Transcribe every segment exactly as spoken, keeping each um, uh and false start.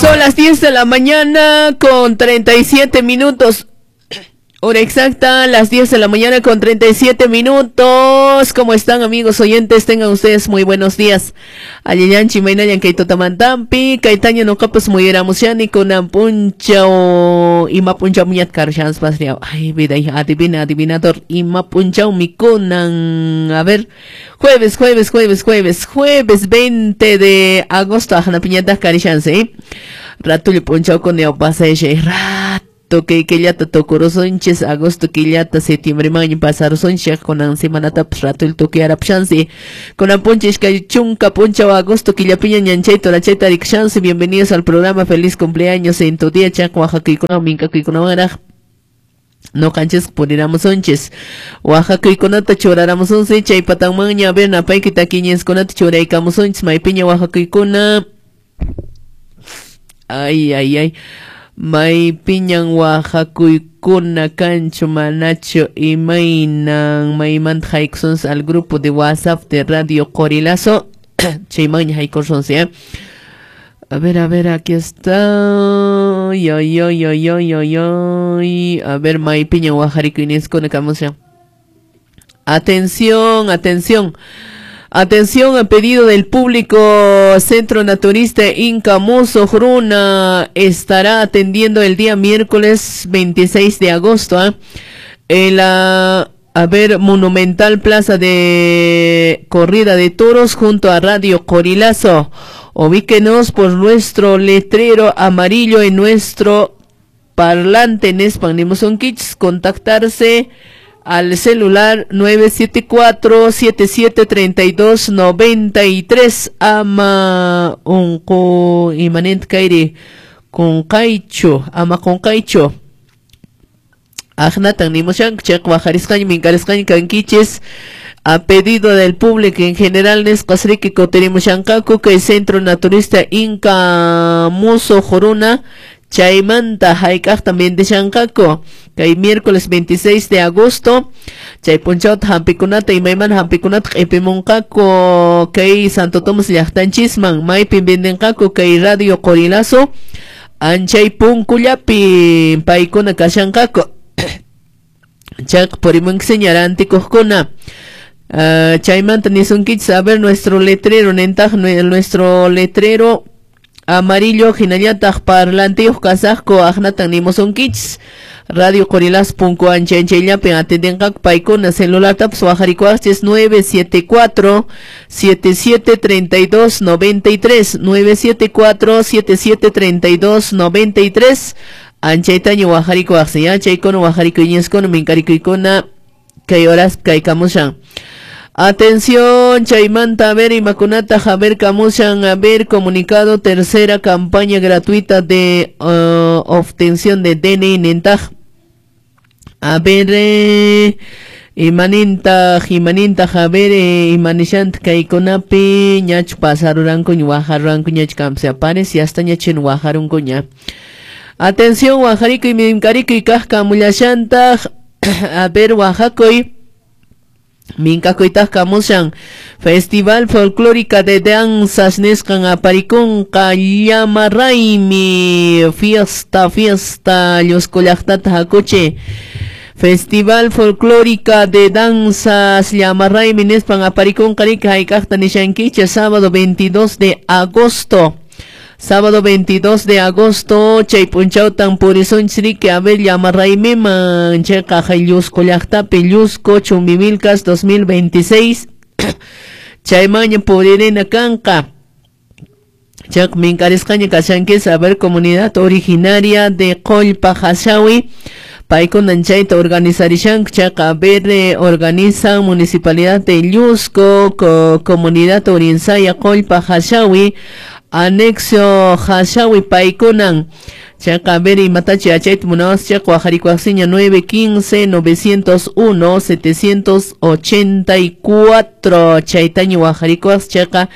Son las diez de la mañana con treinta y siete minutos. Hora exacta, las diez de la mañana con treinta y siete minutos. ¿Cómo están, amigos oyentes? Tengan ustedes muy buenos días. Allillanchi, mainayan, kaitotamantampi, kaitaña noqapas muyeramushani, kunan punchaw, ima punchaw miñat karshans pasriaw. Ay, vida, adivina, adivinador, ima punchaw mikunan. A ver, jueves, jueves, jueves, jueves, jueves veinte de agosto, ajna piñata karishanse, ¿eh? Ratullo punchaw con neopaseshe, rat. Toque killata tokurusonchis agosto killata septiembre maño pasarusonchis kunan semanatapas rato el toque arapshansi kunan punchis kay chunka punchaw agosto killapiña ñanchay torachayta rikshansi. Bienvenidos al programa, feliz cumpleaños en tu día chak oaxacuykuna minkakuykunawanraq noqanchis puriramusonchis oaxacuykunata churaramusunsi chay patanmanña a ver napayki takiñiskunata churaykamusunchis maypiña oaxacuykuna. Ay, ay, ay. Maypiñan oaxacuykuna kanchu manachu imaynan maymanta haykusunsi al grupo de WhatsApp de Radio Qorilazo. Chaymanña haykusunsi, ¿eh? A ver, a ver, aquí está. Ay, ay, ay, ay, ay, ay, ay. A ver, maypiñan oaxarikuyniskuna kamushan. Atención, atención. Atención a pedido del público, Centro Naturista Inca Mozo Jruna estará atendiendo el día miércoles veintiséis de agosto, ¿eh? En la, a ver, Monumental Plaza de Corrida de Toros junto a Radio Qorilazo. Ubíquenos por nuestro letrero amarillo en nuestro parlante en España. Contactarse al celular nueve siete cuatro, siete siete treinta y dos, noventa y tres. Ama unqu imanent kairi kunqaychu, ama kunqaychu. Ajnatan nimushanku chayqa wajarisqaña minkarisqaña kankichis. A pedido del público en general nisqasriki kutirimushanqaku kay Centro Naturista Inca Muso Juruna chaymanta hayk'aqta vendishanqaku kay miércoles veintiséis de agosto chay punchawta hampikunata imaymana hampikunata q'ipimunqaku kay Santo Tomás llaqtanchisman maypin vendenqaku kay Radio Qorilazo anchay punkullapi paykuna kashanqaku. Chayqa purimunkiseña rantikuqkuna. Uh, chaymanta nisunkichis, a ver nuestro letrero nentaq nuestro letrero amarillo hinallataq parlantiyuq kasaqku aqnatan nimusunkichis Radio Qorilazo punku anchanchayllapi atendenqaku paykuna celulartapas wajarikuwaqchis nueve siete cuatro, siete siete treinta y dos, noventa y tres, nueve siete cuatro, siete siete treinta y dos, noventa y tres. Anchaytaña wajarikuwaqsi ya chaykuna wajarikuyñiskuna minkarikuykuna kay horas kay kamushan. Atención, chaymanta, a ver, imakunata, a ver, kamushan, a ver, comunicado, tercera campaña gratuita de uh, obtención de D N I nentaj. A ver, eh, imaninta, imaninta, a ver, eh, imanishant, kaykunapi, ñach pasaruranku, wajaruranku, ñach kamse aparece, hasta ñachin wajarunku ña. Atención, wajarikuy, minkarikuy, kaj kamullashantaj, a ver, wajakuy. Minkakuytaq kamushan Festival Folclórica de Danzas nisqan aparikunqa llama raymi fiesta fiesta Llusco llaqtata hakuchi. Festival Folclórica de Danzas llama raymi nispan aparikunqa riki hayk'aqta nishankichis sábado veintidós de agosto. Sábado veintidós de agosto, chay punchawtan purisunchis riki a ver llama raymiman chayqa Llusco llaqtapi Llusco Chumbivilcas dos mil veintiséis. Chaymaña puririna kanqa. Chayqa minkarisqaña kashankis a ver comunidad originaria de Qollpa Hashawi. Paykunan chayta organizarishanku chayqa a ver eh, organizan municipalidad de Llusco, co comunidad Orinsaya Qollpa Hashawi, anexo Hashawi paykunan. Chayqa a ver imatachi yachayta munawas chayqa wajarikuwaqsiña nueve quince, novecientos uno, setecientos ochenta y cuatro. Chaytaña wajarikuwas chayqa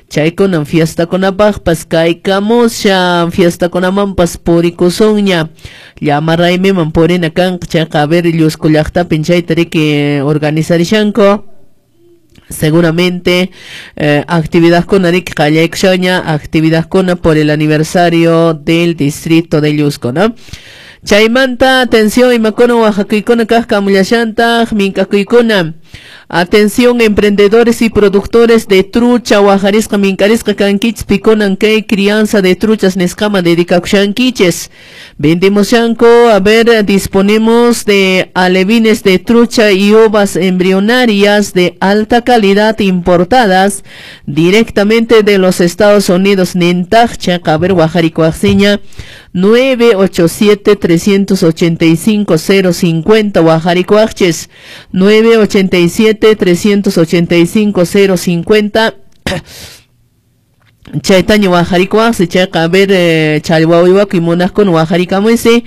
chaykunan fiestakunapaqpas kaykamushan fiestakunamanpas purikusunña llama raymiman purina kanqa chayqa a ver Llusco llaqtapin chayta riki organizarishanku. Seguramente eh, actividadkuna riki qallaykushaña, actividadkuna por el aniversario del distrito de Llusco, ¿no? Chaymanta, atención, imakuna wajakuykuna kaq kamullashantaq, minkakuykuna. Atención, emprendedores y productores de trucha, wajarisqa minkarisqa kankichis, pikunan kay crianza de truchas nisqaman dedicakushankichis. Vendemos shanko, a ver, disponemos de alevines de trucha y ovas embrionarias de alta calidad importadas directamente de los Estados Unidos. Nintaqcha, a ver, wajarikuaqsiña, nueve ocho siete, tres ocho cinco, cero cincuenta, wajarikuaqchis, nueve ocho siete, tres ocho cinco, cero cincuenta. Chaytaña wajarikuaqsi chayqa, a ver, eh, challwa uywakuy munaqkuna wajarikamunsi.